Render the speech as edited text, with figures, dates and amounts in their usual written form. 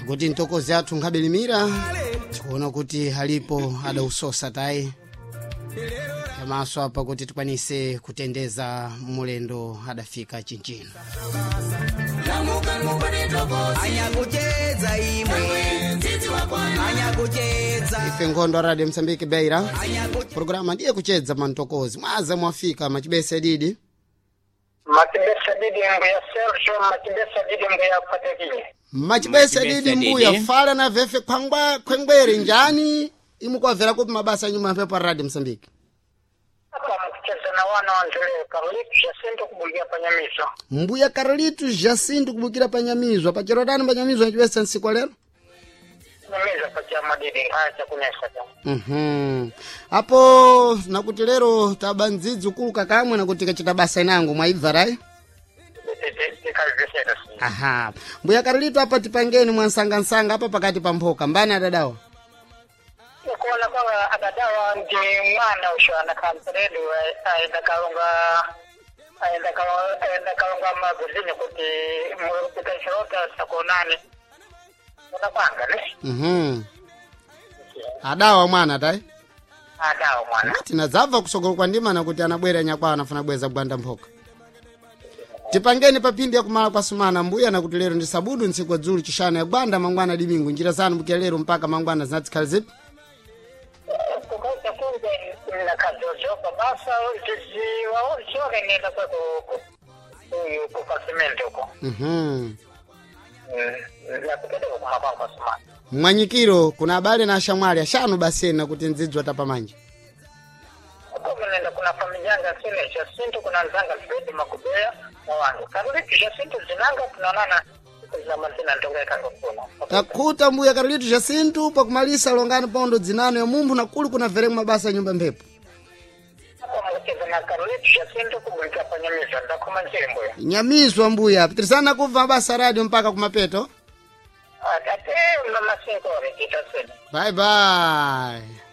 Tikuti ntokozi athu nkhabelimira, tikuona kuti alipo adausosa tayi yamaso apa kuti tikwanise kutendeza mulendo adafika chinchino. Anyakucheza imwe, anyakucheza. Ife nkhondo a Radio Msambiki Beira, programa ndiye kuchedza mantokozi. Mwaza mwafika machibese didi. Matibesa didi mbuya Sergio, matibesa didi mbuya Patekile. Machibese Machibese didi mbuya. Didi. Fala na vefe khwangwa khwengwere njani imukwavera kupi mabasa nyuma mphepo a Radio Msambiki. Apa mukucheza na wana wanzele Carlitos Jacinto kubulia panyamizo. Mbuya Carlitos Jacinto kubukira panyamizwa pachirodani panyamizwa achibesa nsiku lero. Nyamizo pacha madidi haya chakunesa cha. Apo nakuti lero tabandzidzi kuluka kamwe nakuti kachita basa inango mwaibva rai. Tikazvisera si. Aha, mbuya Carlito, apa tipangeni mwansangansanga apa pakati pa mphoka mbani adadawa. Kuona kwamba adadawa ndi mwana usho anakamperedu aenda kalonga, aenda kalonga, aenda kalonga magazini kuti mukachirota sakonani. Kuna kwanga ne? Adawa mwana tai. Adawa mwana. Tinadzabva kusogolo kwa ndima nakuti anabwera nyakwawa anafuna bweza gwanda mphoka. Tipangeni papindi ya kumala kwa sumana mbuya, nakuti lero ndi sabudu ntsiku dzulu chishanu ya gwanda mangwana dimingu njira zanu mbukia lero mpaka mangwana zinatsikhala zipi. Kukaita kunge nakajojoka basa ziwaochoke nenda kwa uyu kukasimenti uko. Nakupeleka kumakwangu kwa sumana. Mwanyikiro kuna abale na ashamwali ashanu basena kuti ndzidzwa tapamanja. Uko nenda kuna familia yanga sine Jacinto, kuna nzanga Fredi Makubea na wangu Karolitu Jacinto zinanga tunaonana siku za mazina ndonga ikango kuna. Takuta mbuya Karolitu Jacinto pakumalisa longani pondo dzinano ya mumphu na kuli kuna veremu mabasa ya nyumba mphepo. Apa mukucheza na Karolitu Jacinto kubulika panyamiza ndakoma njiri mbuya. Nyamizwa mbuya pitirisana kubva mabasa radio mpaka kumapeto. Ate mama sinkore titasene. Bye bye.